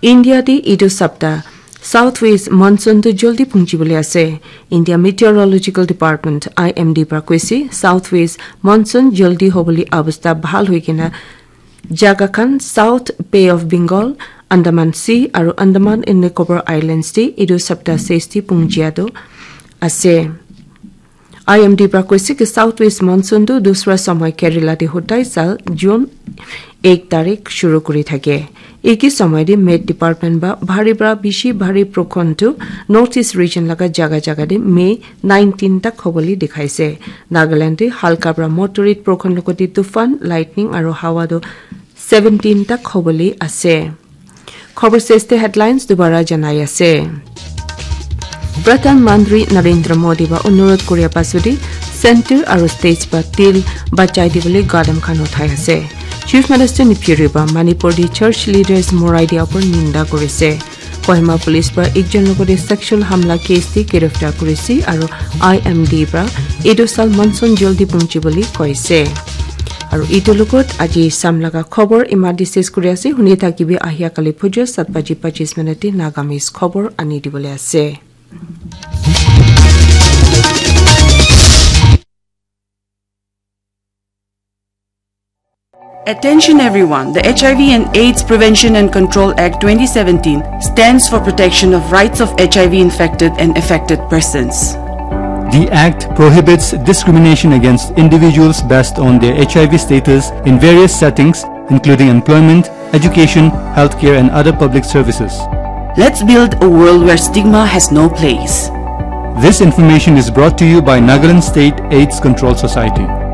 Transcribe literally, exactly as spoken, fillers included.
India te etu sapta southwest monsoon tu jaldi punchi bole ase. India Meteorological Department, I M D, para koise southwest monsoon jaldi hobole abostha bhal hoi kena jaga khan South Bay of Bengal, Andaman Sea aru Andaman and Nicobar Islands te etu sapta sesti punjia tu ase. I M D para koise ki southwest monsoon tu dusra samay Kerala te hodai sal June ek tarik shuru kuri thake. Eki samay de Met Department ba bhari para bishi bhari prokhon tu North East region laga jaga jaga de May nineteen tak hobole dikhaise. Nagaland te halka para moderate prokhon logote tufan, lightning aru hawa tu seventeen tak hobole ase. Khobor seste headlines dubara janai ase. Pradhan Mantri Narendra Modi ba onurod koria pasudi center aru state ba til bachai dibole gadam khan uthai ase. Chief Minister Neiphiu Rio ba Manipur di church leaders morai dia upor ninda korise. Kohima police ba ekjon logode sexual hamla case di giriftar korise aru I M D ba etu sal monsoon jaldi punchi bole koise. Aru etu logot aji sam laga khobor ima discuss kuri ase. Huni thakibi ahia kali puja sat baji pachis minute te Nagamese khobor ani dibole ase. Attention everyone, the H I V and AIDS Prevention and Control Act twenty seventeen stands for protection of rights of H I V infected and affected persons. The Act prohibits discrimination against individuals based on their H I V status in various settings, including employment, education, healthcare, and other public services. Let's build a world where stigma has no place. This information is brought to you by Nagaland State AIDS Control Society.